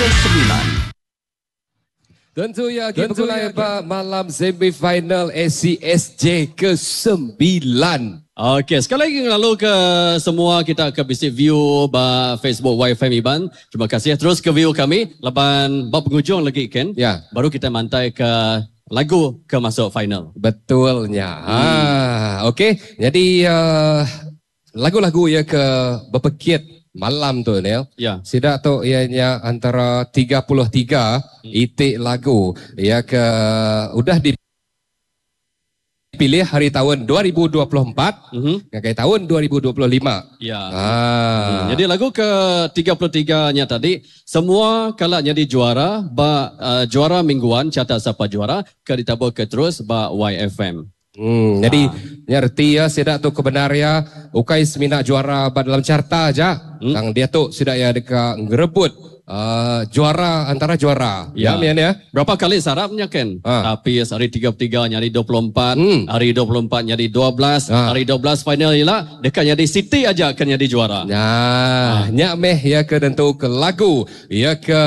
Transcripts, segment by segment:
Ke-9. Tentu ya agi begulai ba malam semi final ACSJ ke-9. Okey, sekali lagi ngelalu ke semua kita ke bisi view ba Facebook YFM Iban. Terima kasih terus ke view kami laban ba pengujung lagi ken. Ya. Baru kita mantai ke lagu ke masuk final. Betul nya. Ha, okey. Jadi uh, Lagu-lagu iya ke bepekit malam tu Neil. Ya. Sida tu iya nya antara 33 iti lagu iya ke udah dipilih ari taun 2024 ngagai taun 2025. Ya. Haa. Nyadi lagu ke 33 nya tadi semua kala nyadi juara ba juara mingguan Carta Sapa Juara ke ditaburka terus ba YFM. Hmm, nyadi nya reti iya sida tu ke bendar iya ukai semina juara ba dalam carta aja hmm. tang diatu sida iya deka ngerebut uh, juara antara juara. Ya, ya mian ya. Berapa kali sarap nya ken? Ha. Tapi hari 33 nyadi 24, hmm. hari 24 nyadi 12, ha. hari 12 final ila deka nyadi Siti aja ke nyadi juara. Nya, ha. nya meh iya ke tentu ke lagu iya ke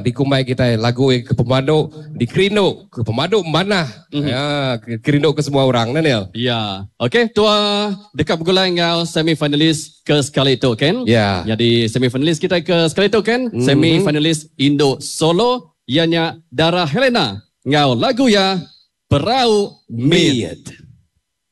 dikumbai kitai lagu iya ke pemadu dikerindu ke pemadu manah Ya, kerindu ke semua orang nah Neil. Ya. Okey, tua deka begulai enggau semi finalis ke sekali tu ken. Ya. Nyadi semi finalis kitai ke sekali tu ken, mm-hmm. semi finalis Indo Solo iya nya Dara Helena enggau lagu iya Perau Mit.